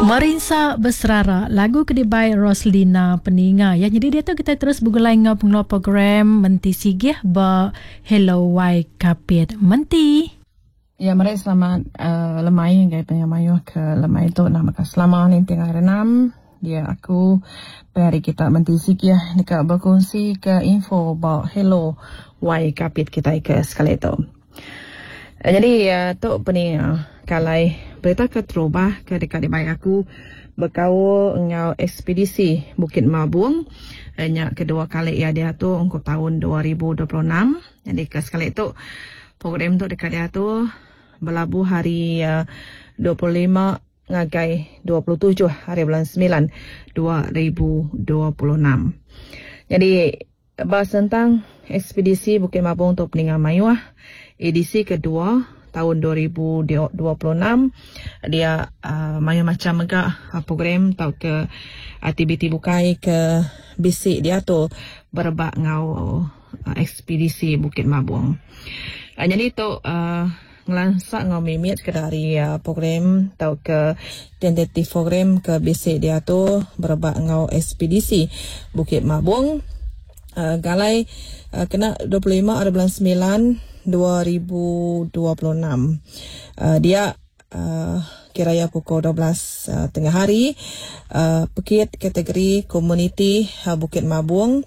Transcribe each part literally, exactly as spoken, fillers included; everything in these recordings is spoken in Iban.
Merinsa Beserara, lagu ke dibai Roslina peninga ya. Jadi dia tu kita terus begulai enggau pengeluar program Menti Sigih ba Hello Y Kapit. Menti. Ya, meri selamat uh, lemai ngagai pemayuh ke lemai tu nama ka selama ninting hari enam. Dia aku hari kita Menti Sigih dekat berkongsi ke info ba Hello Y Kapit kita ke sekali tu. Uh, jadi uh, tu peni uh, kalai berita ke terubah ke dekat dibai aku berkaul ngau ekspedisi Bukit Mabung. Uh, nya kedua kali ya dia tu untuk tahun dua ribu dua puluh enam. Jadi ke sekali tu program tu dekat dia tu berlabuh hari uh, dua puluh lima ngagai dua puluh tujuh hari bulan sembilan dua ribu dua puluh enam. Jadi bahas tentang ekspedisi Bukit Mabung tu peninggal mayuah edisi kedua tahun dua ribu dua puluh enam. Dia uh, mayuh macam megah uh, program atau ke aktiviti bukai ke bisik dia tu berebak ngau uh, ekspedisi Bukit Mabung. Uh, jadi tu uh, ngelansak ngau mimit ke dari uh, program atau ke tentatif program ke bisik dia tu berebak ngau ekspedisi Bukit Mabung. Uh, galai uh, kena dua puluh lima hari bulan sembilan dua ribu dua puluh enam. Uh, dia uh, kiraya pukul dua belas uh, tengah hari uh, pekit kategori komuniti uh, Bukit Mabung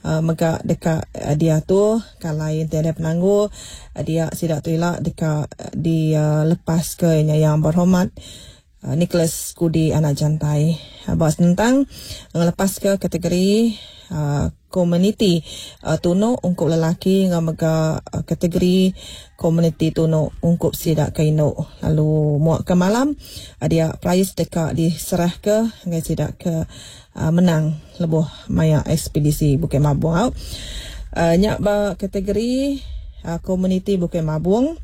uh, megak dekat uh, dia tu kalau yang tiada penangguh uh, dia sidak tu elak dekat uh, di uh, lepas ke yang berhormat uh, Nicholas Kudi anak jantai. Uh, bahas tentang ngelepas ke kategori uh, komuniti uh, tuno ungkup lelaki ngau mega uh, kategori komuniti tuno ungkup sidak kaino. Lalu muak ke malam uh, dia prize dekat diserah ke ngai sidak ke uh, menang lebuh maya ekspedisi Bukit Mabung. Uh, nyak ba kategori uh, komuniti Bukit Mabung.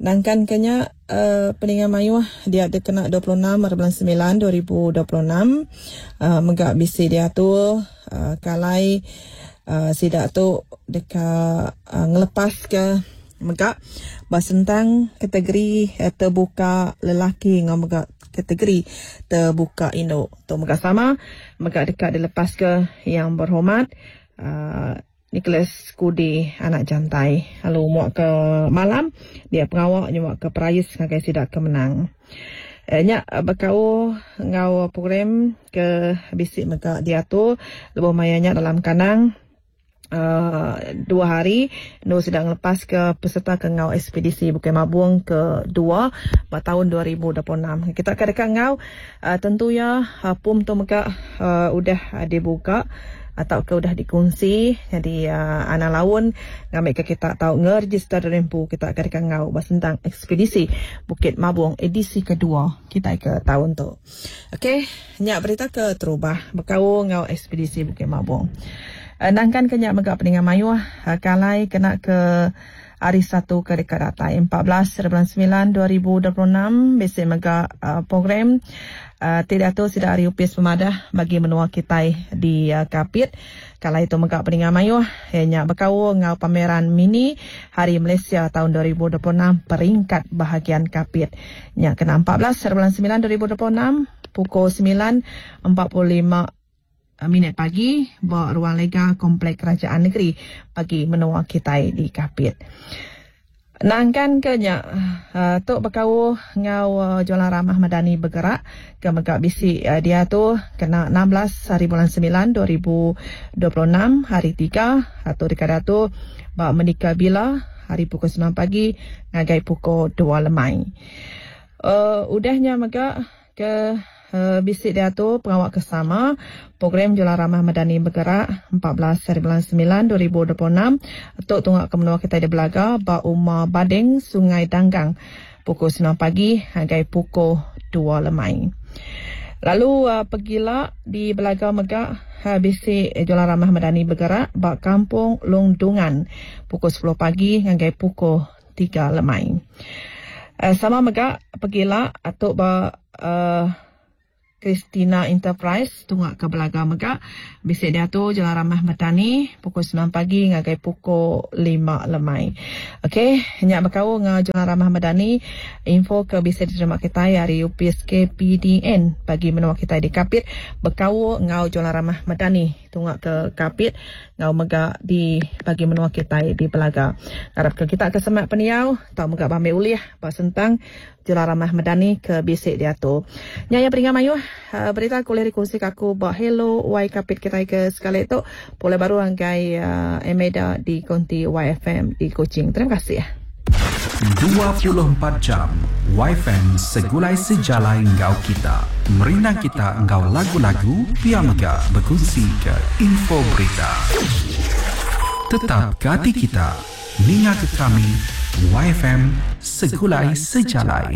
Nangkan kenya uh, peningan mayuh dia ada kena dua puluh enam hari bulan sembilan dua ribu dua puluh enam uh, megak bisi dia tu uh, kalai uh, sidak tu dekat uh, ngelepas ke megak basentang kategori uh, terbuka lelaki ngau megak kategori terbuka induk tu megak sama megak dekat dilepas ke yang berhormat uh, Nicholas Kudi anak jantai. Lalu muak ke malam dia pengawak nyuak ke perais ngagai sidak ke menang. Eh, nyak bekau ngau program ke bisik mega dia tu lebuh mayanya dalam kanang uh, dua hari nu sedang lepas ke peserta ke ngau ekspedisi Bukit Mabung ke dua pada tahun dua ribu dua puluh enam. Kita akan dekat ngau uh, tentu ya uh, pum tu mega uh, udah uh, dibuka atau ke udah dikongsi. Jadi uh, anak laun ngambil ke kita tahu ngeregister rempu kita akan dekat ngau bahas tentang ekspedisi Bukit Mabung edisi kedua kita ke tahun tu. Okey, nyak berita ke terubah bekau ngau ekspedisi Bukit Mabung. Uh, nangkan ke nyak megak peningan mayuh uh, kalai kena ke hari satu ke dekat datai empat belas bulan sembilan dua ribu dua puluh enam besi megak uh, program uh, tidak tu sudah hari upis pemadah bagi menua kita di uh, Kapit. Kalau itu megak peningan mayuh hanya bekau ngau pameran mini Hari Malaysia tahun dua ribu dua puluh enam peringkat bahagian Kapit. Nya kena empat belas bulan sembilan dua ribu dua puluh enam pukul sembilan empat puluh lima minit pagi ba ruang lega Komplek Kerajaan Negeri bagi menua kita di Kapit. Nangkan ke nya uh, tok bekau ngau uh, jualan ramah madani bergerak ke megak bisi uh, dia tu kena enam belas hari bulan sembilan dua ribu dua puluh enam hari tiga atau dekat tu ba menikah bila hari pukul sembilan pagi ngagai pukul dua lemai. Uh, udahnya megak ke Uh, bisik dia tu pengawak kesama program Jualan Ramah Madani bergerak empat belas hari bulan sembilan dua ribu dua puluh enam untuk tunggak ke menua kita di Belaga ba Uma Badeng Sungai Danggang pukul sembilan pagi hingga pukul dua lemai. Lalu uh, pergilah di Belaga megak uh, bisik Jualan Ramah Madani bergerak ba Kampung Longdungan pukul sepuluh pagi hingga pukul tiga lemai. Uh, sama megak pergilah atau ba uh, Christina Enterprise tunga ke Belaga mega bisi diatu Jalan Ramah Madani pukul sembilan pagi ngagai pukul lima lemai. Okey, nya bekau ngau Jalan Ramah Madani info ke bisa diterima kita hari U P S K P D N bagi menua kita di Kapit bekau ngau Jalan Ramah Madani tunga ke Kapit ngau mega di bagi menua kita di Belaga. Harap ke kita ke semak peniau tau mega bambi ulih ba sentang Jalan Ramah Madani ke bisik diatu. Nyaya peringat mayuh berita kuliah dikongsi aku ba Hello Y Kapit kita ke sekali tu boleh baru anggai uh, Emeda di konti Y F M di Kuching. Terima kasih. dua puluh empat jam Y F M segulai sejalai ngau kita. Merindang kita ngau lagu-lagu pia mega berkongsi ke info berita. Tetap gati kita. Ninga ke kami Y F M segulai sejalai.